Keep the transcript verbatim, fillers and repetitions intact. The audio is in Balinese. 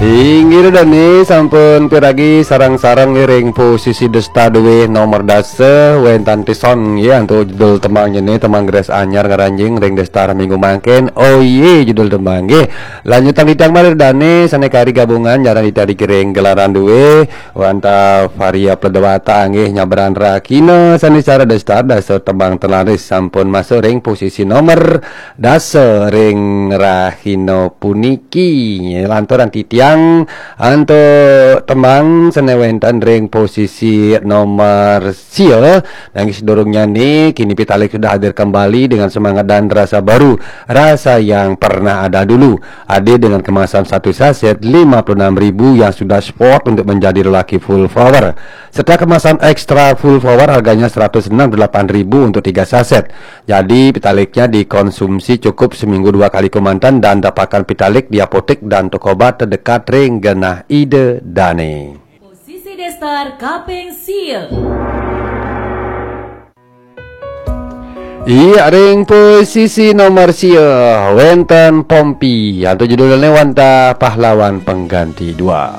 Inggih dane, sampun piragi sareng-sareng ring posisi Desta duwe nomor dasa, wenten tison nggih antuk judul tembang jene, tembang Grace Anyar ngaranjing ring Desta minggu mangkin. Oh iye, judul tembang nggih. Lanjutang titiang malih dane sane kari gabungan, jarang dicari ring gelaran duwe, wantah Varia Pledewata nggih nyabran Rakina sane cara Desta, dasa tembang telaris sampun masuk ring posisi nomor dasa ring rahina puniki. Lanturang titiang antuk tembang sane wenten ring posisi nomor sia. Nanging sadurungnyane, kini Pitalik sudah hadir kembali dengan semangat dan rasa baru, rasa yang pernah ada dulu. Hadir dengan kemasan satu saset lima puluh enam ribu yang sudah sport untuk menjadi lelaki full power. Serta kemasan ekstra full power harganya seratus enam puluh delapan ribu untuk tiga saset. Jadi, Pitaliknya dikonsumsi cukup seminggu dua kali kemanten dan dapatkan Pitalik di apotek dan toko obat terdekat ring genah Ida Dane. Posisi Destar kaping sia. Iya, ring posisi nomor sia, wenten Pompi, antuk judulne wantah Pahlawan Pengganti dua.